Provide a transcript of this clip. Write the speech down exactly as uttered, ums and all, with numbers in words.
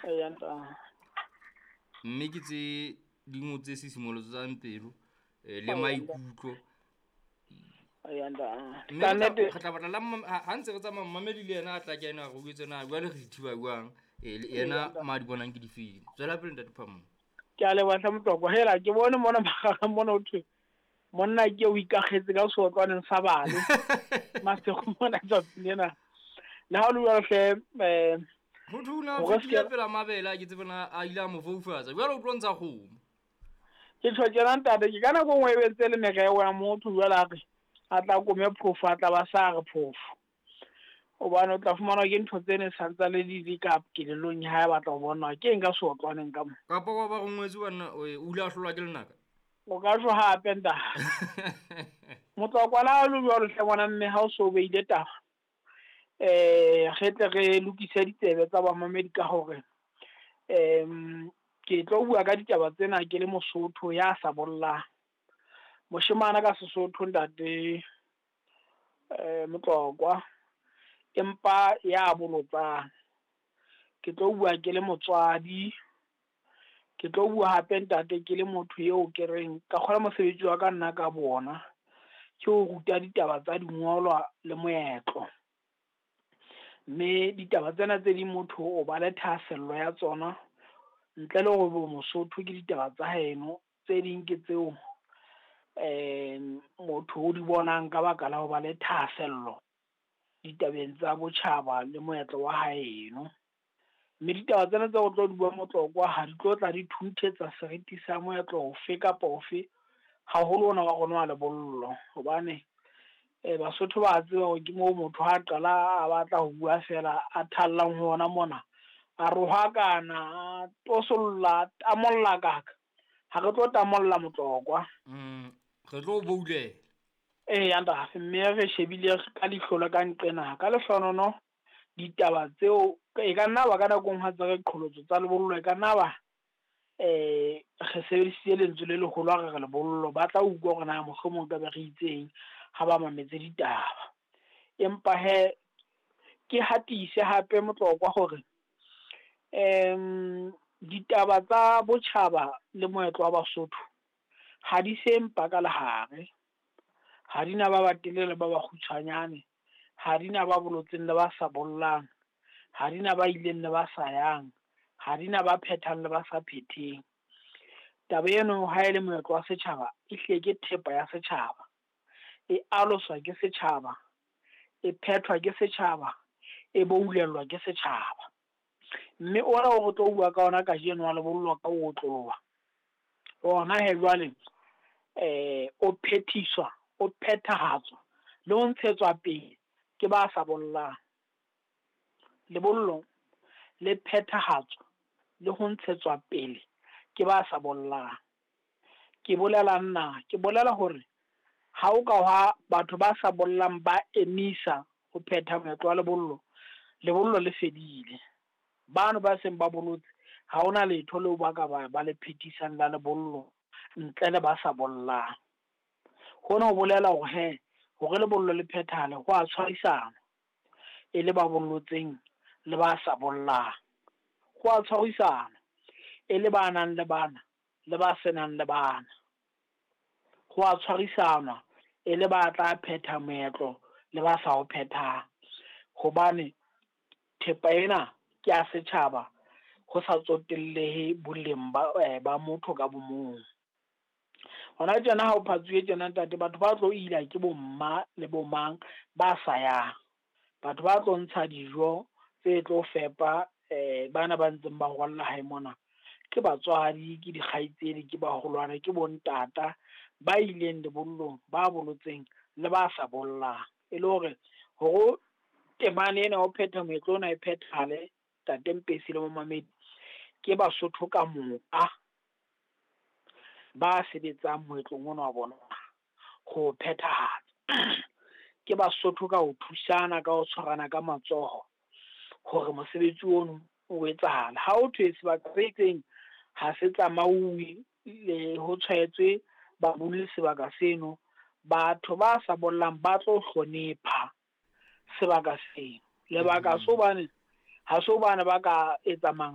Eya ntate. Mme ke tse dingwe tse sisimolotsang pelo eh, le maikutlo. Eya ntate. Mme Ka re tla- nnete re tla batla la mmam- ha ha ntse re tsamaya mmamedi le yena a tla kena re utlwetse na jwale re ithiba jwang, eh, le yena ma di bonang ke difeng. Tswela pele ntate Phamong. Ke a leboha hle Motlokwa. Hela ke bone mona magareng mona ho thwe monna ke o ikakgetse ka seotlwaneng sa bale. Masego mona tsatsing lena. Le ha o le jwalo hle, eh, Motho o ne a Hore fetile se- pela mabele a ke tsebe na a ile a mo foufatsa. Jwale o tlo ntsha kgomo. Ke tjho tjena ntate, ke ka nako e nngwe e be ntse le mereo ya motho jwale a re a tla kome phofo, a tla ba sa re phofo. Hobane o tla fumana ke ntho tse ne santsane di le ka kelellong ya hae, a batla ho bona ke eng ka seotlwaneng ka mo. Kapa wa ba rongwetse banna, o o ile a hlolwa ke lenaka. O ka tjho hape ntate. Motlokwa le ha o le jwalo hle ngwana mme, ha o so beile taba, eh, re tle re lokise ditsebe tsa bamamedi ka hore, em, ke tlo bua ka ditaba tsena ke le Mosotho ya sa bollang. Moshemane ka Sesotho ntate, eh, Motlokwa, empa ya bolotsang. Ke tlo bua ke le motswadi, ke tlo bua hape ntate ke le motho eo ke reng ka kgola mosebetsi wa ka nna ka bona, ke ho ruta ditaba tsa dingolwa le moetlo. Mme ditaba tsena tse ding motho o ba le thahasello ya tsona ntle le hore bo Mosotho ke ditaba tsa haeno, tse ding ke tseo, eh, motho o di bonang ka baka la ho ba le thahasello ditabeng tsa botjhaba le moetlo wa haeno. Mme ditaba tsena tse o tlo di bua Motlokwa ha di tlo tla di thunthetsa seriti sa moetlo ofe kapa ofe, haholo ona wa rona wa lebollo. Hobane, eh, Basotho ba tseba hore ke moo motho ha qala a batla ho bua fela a thallang ho ona mona, a rohakana, a tosolla, a tamolla kaka. Ha re tlo tamolla Motlokwa. Mm, re tlo boulela. Eya ntate, mme re shebile ka leihlo le ka nqena, ka lehlonono ditaba tseo e ka nna ba ka nako e nngwe ha tse re qholotso tsa lebollo, e ka nna ba, eh, re sebedisitse lentswe le leholo ha re re lebollo, ba tla utlwa hore na mohlomong ka be re itseng ha ba mametse ditaba. Empa he ke hatise hape Motlokwa hore, em, ditaba tsa botjhaba le moetlo wa Basotho ha di se mpa ka lehare, ha di na ba batelele le ba bakgutshwanyane, ha di na ba bolotseng le ba sa bollang, ha di na ba ileng le ba sa yang, ha di na ba phethang le ba sa phetheng. Taba eno ha e le moetlo wa setjhaba, e hlile ke thepa ya setjhaba, e aloswa ke setjhaba, e phethwa ke setjhaba, e boulellwa ke setjhaba. Mme ona o re tlo bua ka ona kajeno wa lebollo ka o otloloha, ona he jwale, eh, o phethiswa, o phethahatswa le ho ntshetswa pele ke ba sa bollang. Lebollo le phethahatswa le ho ntshetswa pele ke ba sa bollang. Ke bolela nna, ke bolela hore ha o ka hwa batho ba sa bollang ba emisa ho phetha moetlo wa lebollo, lebollo le fedile. Bano ba seng ba bolotse ha hona letho leo ba ka ba, ba le phethisang la lebollo ntle le ba sa bollang. Hona ho bolela hore he, hore lebollo le phethahale ho a tshwarisana e le ba bollotseng le ba sa bollang. Ho a tshwarisana e le ba nang le bana le ba senang le bana. Ho a tshwarisana e le ba tla phetha moetlo le ba sa o phethang. Hobane thepa ena ke ya setjhaba ho sa tsotellehe boleng ba, eh, ba motho ka bo mong. Hona tjena ha o phatsuwe tjena ntate, batho ba tlo ila ke bo mma le bo mang ba sa yang. Batho ba tlo ntsha dijo tse tlo fepa, eh, bana ba ntseng ba rwalla hae mona. Ke batswadi, ke dikgaitsedi, ke baholwane, ke bontata ba ileng lebollong, ba bolotseng le ba sa bollang. E le hore hore temane ena ho phetha moetlo ona e phethahale, Ntate Mpesi le momamedi, ke Basotho ka moka ba sebetsang moetlong ona wa bona ho phethahatsa. Ke Basotho ka ho thusana, ka ho tshwarana ka matsoho hore mosebetsi ono o etsahale. Ha ho thwe sebaka se itseng ha se tsamauwe le ho tshwaetswe babolli sebaka seno, batho ba sa bollang ba tlo hlonepha sebaka seno. Lebaka Mm. so hobane ha so bana ba ka etsa manganga.